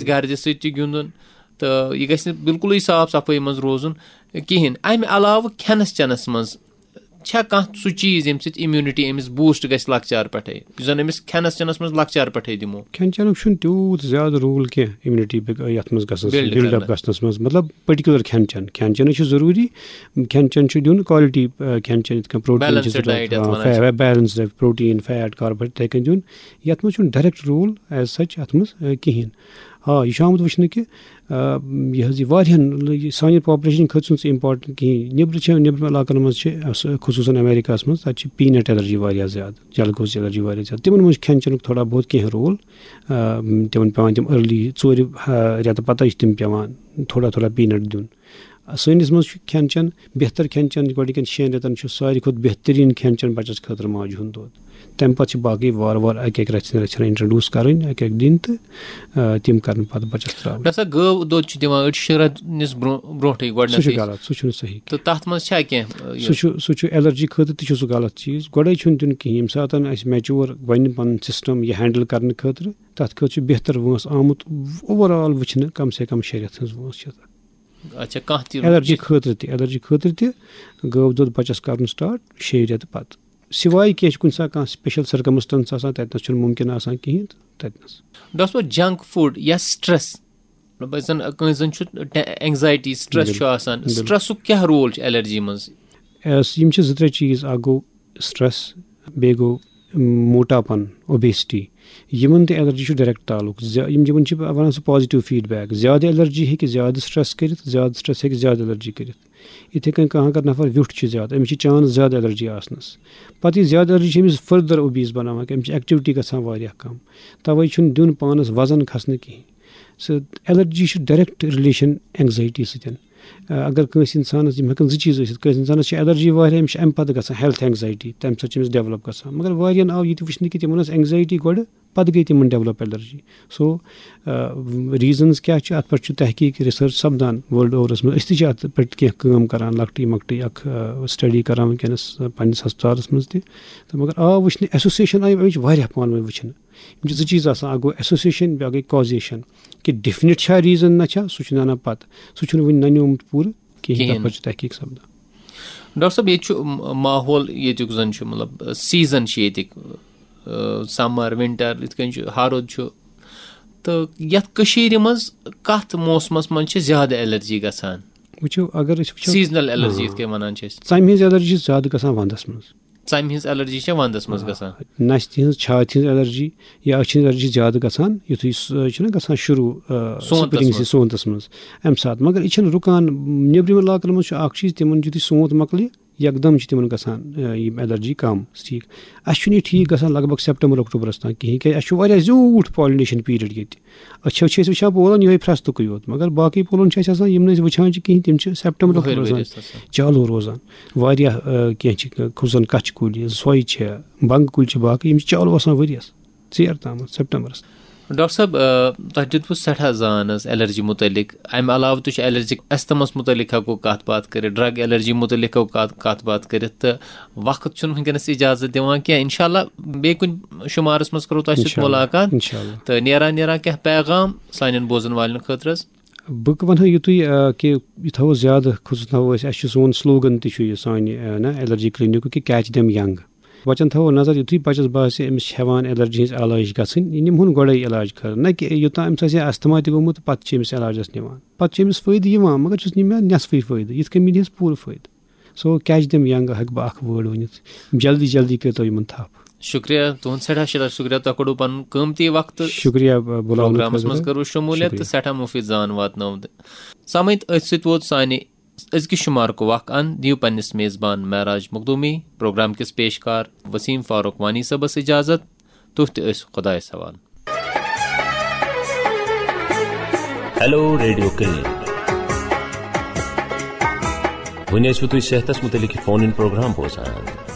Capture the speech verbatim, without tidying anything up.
گردِ سۭتۍ تہِ گِنٛدُن، تہٕ یہِ گژھِ نہٕ بِلکُلٕے صاف صفٲیی منٛز روزُن کِہیٖنۍ۔ اَمہِ علاوٕ کھٮ۪نَس چٮ۪نَس منٛز چھا کانٛہہ سُہ چیٖز ییٚمہِ سۭتۍ immunity أمِس boost گژھِ لۄکچار پٮ۪ٹھَے، یُس زَن أمِس کھٮ۪نَس چٮ۪نَس منٛز لۄکچار پٮ۪ٹھَے دِمو؟ کھٮ۪ن چٮ۪نُک چھُنہٕ تیوٗت زیادٕ role کینٛہہ immunity بِگ-، یَتھ منٛز گژھنَس منٛز، build build up کرنَس۔ گژھنَس منٛز، مطلب particular کھٮ۪ن چٮ۪ن۔ کھٮ۪ن چٮ۪نٕے چھُ ضروٗری، کھٮ۪ن چٮ۪ن چھُ دیُن quality، آ، کھٮ۪ن چٮ۪ن، یِتھ کٔنۍ protein چھِ balanced ضروٗرت، diet یَتھ آ، وَنان چھِ۔ فے-، balanced diet، protein، fat، carbohydrate، یِتھَے کٔنۍ دیُن۔ یَتھ منٛز چھُنہٕ direct role as such اَتھ منٛز، آ، کِہیٖنۍ۔ آ، یہِ چھُ آمُت وٕچھنہٕ کہِ، آ، یہِ حظ یہِ واریاہَن، یہِ سانہِ population خٲطرٕ چھُنہٕ سُہ important کِہیٖنۍ۔ نیٚبرٕ چھِ، نیٚبرِمٮ۪ن علاقَن منٛز چھِ، آ، سُہ خصوٗصاً امریکہَس منٛز، تَتہِ چھِ peanut allergy واریاہ زیادٕ، جلگوزٕچ allergy واریاہ زیادٕ۔ تِمَن منٛز چھُ کھٮ۪ن چٮ۪نُک تھوڑا بہت کینٛہہ role۔ آ، تِمَن پٮ۪وان تِم early ژورِ، آ، رٮ۪تہٕ پَتَے چھِ تِم پٮ۪وان تھوڑا تھوڑا peanut دیُن۔ سٲنِس منٛز چھُ کھٮ۪ن چٮ۪ن، بہتر کھٮ۪ن چٮ۪ن گۄڈٕنِکٮ۪ن شٮ۪ن رٮ۪تَن چھُ ساروی کھۄتہٕ بہتریٖن کھٮ۪ن چٮ۪ن بَچَس خٲطرٕ ماجہِ ہُنٛد دۄد۔ تَمہِ پَتہٕ چھِ باقٕے وارٕ وارٕ اَکہِ اَکہِ رَژھِ رَژھِ introduce کَرٕنۍ، اَکہِ اَکہِ دِنۍ تہٕ، آ، تِم کَرَن پَتہٕ بَچَس ترٛاوٕنۍ۔ مےٚ سا گٲو دۄد چھُ دِوان أڑۍ شےٚ رٮ۪تھ نِس برٛونٛہہ-، برٛونٛٹھٕے سُہ چھُ گۄڈٕنٮ۪تھٕے۔ غلط، سُہ چھُنہٕ صحیح کینٛہہ۔ تہٕ تَتھ منٛز چھا کینٛہہ، یہِ؟ سُہ چھُ، سُہ چھُ allergy خٲطرٕ تہِ چھُ سُہ غلط چیٖز۔ گۄڈَے چھُنہٕ دیُن کِہیٖنۍ۔ ییٚمہِ ساتَن اَسہِ mature بَنہِ پَنُن system یہِ handle کَرنہٕ خٲطرٕ، تَتھ خٲطرٕ چھُ بہتر وٲنٛس آمُت overall وٕچھنہٕ، کَم سے کَم شےٚ رٮ۪تھ ہٕنٛز وٲنٛس چھِ تَتھ۔ اچھا، کانٛہہ تہِ allergy خٲطرٕ تہِ، allergy خٲطرٕ تہِ گٲو دۄد بَچَس کَرُن start شیٚیہِ رٮ۪تہٕ پَتہٕ۔ سِوایہِ کینٛہہ چھِ کُنہِ ساتہٕ کانٛہہ special circumstance آسان، تَتہِ نَس چھُنہٕ مُمکِن آسان کِہیٖنۍ تہٕ تَتہِ نَس۔ ڈاکٹر صٲب، junk food یا stress، مطلب، یُس زَن کٲنٛسہِ زَن چھُ ٹے-، anxiety، stress بِل-، چھُ آسان، بِل۔ Stressُک کیٛاہ role چھُ allergy منٛز؟ ایس-، یِم چھِ زٕ ترٛےٚ چیٖز، اَکھ گوٚو stress، بیٚیہِ گوٚو موٹاپن، obesity، یِمن تہٕ allergy چھُ direct تعلق۔ زیا-، یِم، یِمن چھِ وَنان سُہ positive feedback۔ زیادٕ allergy ہیٚکہِ زیادٕ stress کٔرِتھ، زیادٕ stress ہیٚکہِ زیادٕ allergy کٔرِتھ۔ یِتھَے کٔنۍ کانٛہہ اگر نفر ویوٚٹھ چھُ زیادٕ، أمِس چھِ chance زیادٕ allergy آسنَس۔ پَتہٕ یہِ زیادٕ allergy چھِ أمِس further obese بَناوان، کہِ أمِس چھِ activity گژھان واریاہ کَم۔ تَوَے چھُنہٕ دیُن پانَس وَزَن کھَسنہٕ کِہیٖنۍ۔ سُہ allergy چھُ direct relation anxiety سۭتۍ۔ آ، اگر کٲنٛسہِ اِنسانَس، یِم ہٮ۪کَن زٕ چیٖز ٲسِتھ، کٲنٛسہِ اِنسانَس چھِ allergy واریاہ، أمِس چھِ اَمہِ پَتہٕ گژھان health anxiety، تَمہِ سۭتۍ چھِ أمِس develop گژھان۔ مگر واریاہَن آو یہِ تہِ وٕچھنہٕ کہِ تِمَن ٲس anxiety گۄڈٕ، پَتہٕ گٔے تِمَن develop allergy۔ So، آ، reasons کیٛاہ چھِ، اَتھ پٮ۪ٹھ چھُ تحقیٖق، research سَپدان world overَس منٛز۔ أسۍ تہِ چھِ اَتھ پٮ۪ٹھ کینٛہہ کٲم کَران، لۄکٹٕے مۄکٹٕے اَکھ، آ، study کَران وٕنکیٚنَس، آ، پنٛنِس ہسپتالَس منٛز تہِ۔ تہٕ مگر آو وٕچھنہٕ، association آیہِ اَمِچ واریاہ پانہٕ ؤنۍ وٕچھنہٕ۔ یِم چھِ زٕ چیٖز آسان، اَکھ گوٚو association، بیٛاکھ گٔے causation، کہِ definite چھا reason نہ چھا، سُہ چھُ نہ، نہ پَتہٕ، سُہ چھُنہٕ وٕنہِ نَنیومُت پوٗرٕ کِہیٖنۍ، کِہیٖنۍ۔ تَتھ پٮ۪ٹھ چھُ تحقیٖق سَپدان۔ ڈاکٹر صٲب، ییٚتہِ چھُ م-، ماحول ییٚتیُک زَن چھُ، مطلب، season چھِ ییٚتِکۍ، آ، summer، winter، یِتھ کٔنۍ چھُ ہرُد چھُ، تہٕ یَتھ کٔشیٖرِ منٛز کَتھ موسمَس منٛز چھِ زیادٕ allergy گژھان؟ وٕچھو، اگر أسۍ وٕچھو، seasonal allergy، آ، یِتھ کٔنۍ وَنان چھِ أسۍ۔ ژَمہِ ہٕنٛز allergy چھِ زیادٕ گژھان وَندَس منٛز۔ ژَمہِ ہٕنٛز allergy چھےٚ وَندَس منٛز آ، گژھان۔ نَستہِ ہٕنٛز، چھاتہِ ہٕنٛز allergy یا أچھِ ہٕنٛز allergy چھِ زیادٕ گژھان، یُتھُے سُہ چھُنہ گژھان شروٗع، آ، سونتَس spring منٛز۔ سونتَس منٛز، اَمہِ ساتہٕ۔ مگر یہِ چھَنہٕ رُکان۔ نیٚبرِمٮ۪ن علاقَن منٛز چھُ اَکھ چیٖز، تِمَن یُتھُے سونت مۄکلہِ، یکدم چھِ تِمَن گژھان، آ، یِم allergy کَم۔ ٹھیٖک، اَسہِ چھُنہٕ یہِ ٹھیٖک گژھان لگ بگ سیپٹمبر اکتوبرَس تام کِہیٖنۍ، کیٛازِ اَسہِ چھُ واریاہ زیوٗٹھ pollination period ییٚتہِ۔ أچھو چھِ أسۍ وٕچھان پولَن یِہوٚے فرٛستُکُے یوت، مگر باقٕے پولَن چھِ اَسہِ آسان، یِم نہٕ أسۍ وٕچھان چھِ کِہیٖنۍ، تِم چھِ سیپٹمبر وُہٕرۍ اکتوبرَس ؤرۍ تام۔ ٲسۍ آسان۔ چالوٗ روزان۔ واریاہ، آ، کینٛہہ چھِ، خصوٗصاً کَچھہِ کُلۍ، سۄے چھےٚ، بنٛگہٕ کُلۍ چھِ، باقٕے یِم چھِ چالوٗ آسان ؤریَس ژیر تامَتھ، سیپٹمبرَس۔ ڈاکٹر صٲب، آ، تۄہہِ دیُتوٕ سٮ۪ٹھاہ زان حظ allergy مُتعلِق۔ اَمہِ علاوٕ تہِ چھُ allergic asthmaہَس مُتعلِق ہٮ۪کو کَتھ باتھ کٔرِتھ، drug allergy مُتعلِق ہٮ۪کو کَتھ، کَتھ باتھ کٔرِتھ، تہٕ وقت چھُنہٕ وٕنکیٚنَس اِجازت دِوان کینٛہہ۔ اِنشاءاللہ بیٚیہِ کُنہِ شُمارَس منٛز کَرو تۄہہِ سۭتۍ اِنشاءاللہ، مُلاقات۔ اِنشاءاللہ۔ تہٕ نیران نیران کینٛہہ پیغام سانٮ۪ن بوزَن والٮ۪ن خٲطرٕ حظ؟ بہٕ وَنہٕ ہا یُتُے، آ، کہِ یہِ تھاوو زیادٕ، خصوٗص تھاوو أسۍ، اَسہِ چھُ سون slogan تہِ چھُ یہِ سانہِ، آ، نہ، allergy clinicُک کہِ catch them young۔ بَچَن تھاوو نظر، یُتھُے بَچَس باسہِ أمِس چھِ ہٮ۪وان allergy ہٕنٛز علٲج گژھٕنۍ، یہِ نِمہون گۄڈَے علاج خٲطرٕ۔ نہ کہِ یوٚتام أمِس آسہِ ہا asthma تہِ گوٚمُت، پَتہٕ چھِ أمِس علاجَس نِوان۔ پَتہٕ چھِ أمِس فٲیدٕ یِوان، مگر چھُس نِوان نٮ۪صفٕے فٲیدٕ، یِتھ کٔنۍ مِلہِ ہَس پوٗرٕ فٲیدٕ۔ So catch them young ہٮ۪کہٕ بہٕ اَکھ word ؤنِتھ۔ جلدی جلدی کٔرۍتو یِمَن تھَپھ۔ شُکریہ تُہُنٛد، سٮ۪ٹھاہ سٮ۪ٹھاہ شُکریہ، تۄہہِ کوٚڑوُ پَنُن قۭمتی وقت۔ شُکریہ، ب-، بُلاونہٕ programَس منٛز خٲطرٕ۔ کٔروٕ شموٗلیت تہٕ شُکریہ۔ سٮ۪ٹھاہ مُفیٖد زان واتنٲو۔ سامعیٖن، أتھۍ سۭتۍ ووت سانہِ أزکہِ شُمارُک وق اند۔ دِیِو پننِس میزبان معراج مخدومی، پروگرام کِس پیشکار وسیم فاروق وانی صٲبس اجازت۔ تُہۍ تہِ ٲسِو خۄدایس حوالہٕ۔ Hello radio clinic. وۄنۍ ٲسِو تُہۍ صحتس مُتعلق یہِ فون اِن پروگرام بوزان۔